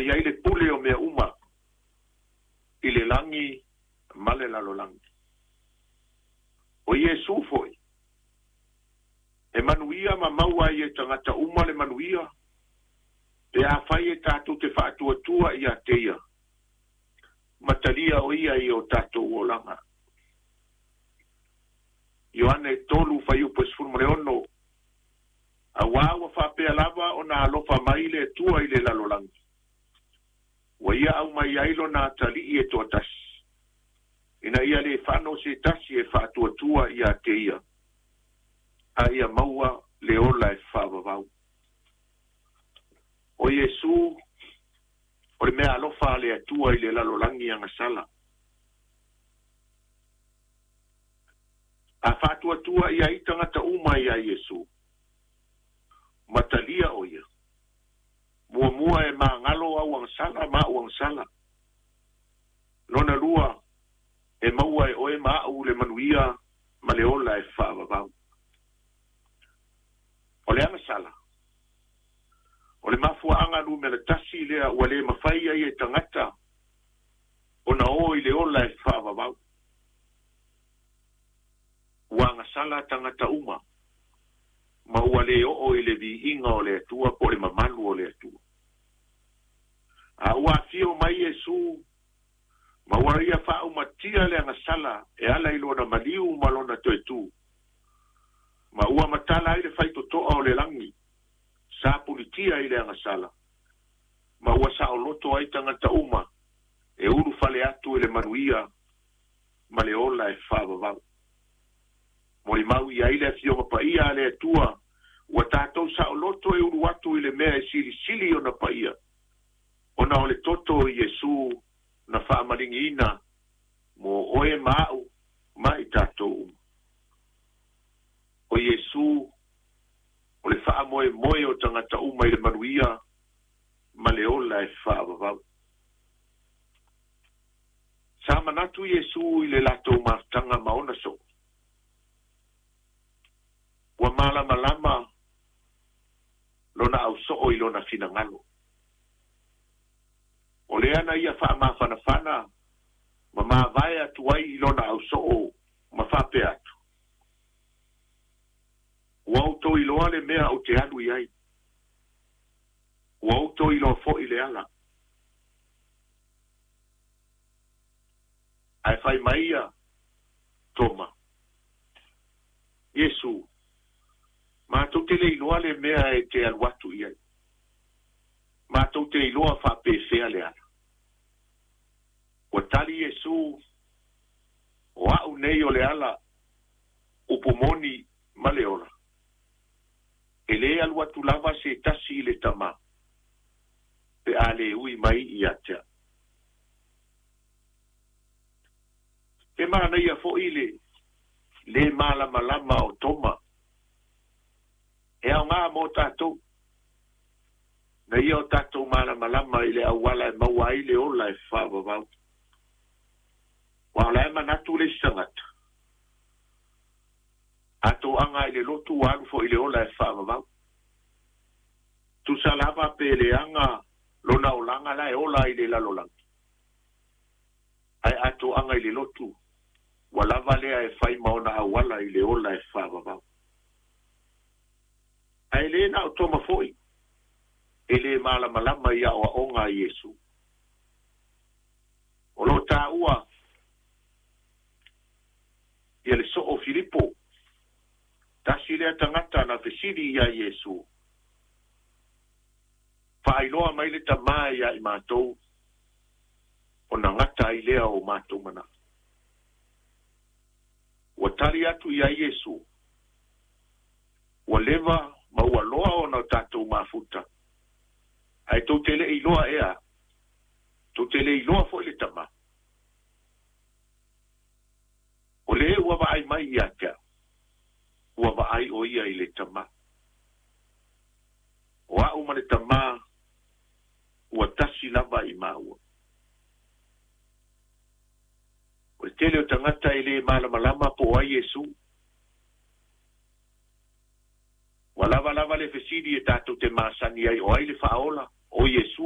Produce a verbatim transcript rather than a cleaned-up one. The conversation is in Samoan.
Ua iai le pule o mea uma i le lagi ma le lalolagi. O Iesu fo'i e manuia ma maua ai e tagata uma le manuia pe afai e tatou te faatuatua ia te ia ma talia o ia i o tatou olaga. Ioane tolu fuaiupu e sefulu ma le ono, auā ua faapea lava ona alofa mai le Atua i le lalolagi, ua ia aumai ai lona atalii e toatasi, ina ia lē fano se tasi e faatuatua ia te ia, a ia maua le ola e faavavau. O Iesu o le mea alofa a le Atua i le lalolagi agasala. A faatuatua ia i tagata uma ia Iesu, matalia o ia. Muamua e magalo au agasala ma au agasala. Lona lua e maua e oe ma au le manuia ma le ola e faavavau. O le agasala, o le mafuaaga numera tasi lea ua lē mafai ai e tagata ona o i le ola e faavavau. Ua agasala tagata uma, ma ua lē oo i le viiga o le Atua po o le mamalu o le Atua. A ua afio mai Iesu, ma ua ia faaumatia le agasala e ala i lona maliu ma lona toetū. Ma ua matala ai le faitotoa o le lagi, sa pulitia i le agasala, ma ua saoloto ai tagata uma e ulufale atu i le manuia ma le ola e faavavau. Molimau i ai le afioga paia a le Atua, ua tatou saoloto e ulu atu i le mea e silisili ona paia, ona o le toto o Iesu na faamaligiina mo oe ma au ma i tatou uma. O Iesu o le faamoemoe o tagata uma i le manuia ma le ola e faavavau. Sa manatu Iesu i le latou mafutaga ma ona soo. Ua malamalama lona ausoo i lona finagalo. O lea na ia faamafanafana ma mavae atu ai i lona ausoo ma faapea atu. Ua outou iloa le mea ou te alu i ai. Ua outou iloa fo'i le ala. Ae fai mai ia Toma. Iesu, matou te le iloa le mea e te alu atu i ai. Matou te iloa faapefea le ala. Ua tali Iesu, o a'u nei o le ala, upu moni ma le ola. E lē alu atu lava se tasi i le Tamā, pe a lē ui mai ia te a'u. E manaia fo'i le lē malamalama o Toma. E aogā mo tatou, na ia o tatou malamalama i le auala e maua ai le ola e faavavau. Ua o la e manatu le isi tagata. A toaga i le lotu ua alu fo'i i le ola e faavavau. Tusa lava pe leaga lona olaga la e ola i le lalolagi. Ae a toaga i le lotu, ua lava lea e fai ma ona auala i le ola e faavavau. Ae lē na o Toma fo'i e lē malamalama i aoaoga a Iesu. O loo taua ia le soo Filipo, tasi lea tagata na fesili ia Iesu. Faailoa mai le Tamā ia i matou, ona gata ai lea o matou manao. Ua tali atu ia Iesu, ua leva ma ua loa ona o tatou mafuta. Ae tou te le iloa ea, tou te le iloa fo'i le Tamā. O le ua vaai mai ia te a'u, ua vaai o ia i le Tamā. O a'u ma le Tamā ua tasi lava i maua. O le tele o tagata e lē malamalama po o ai Iesu. Ua lava lava le fesili e tatou te masani ai o ai le faaola o Iesu.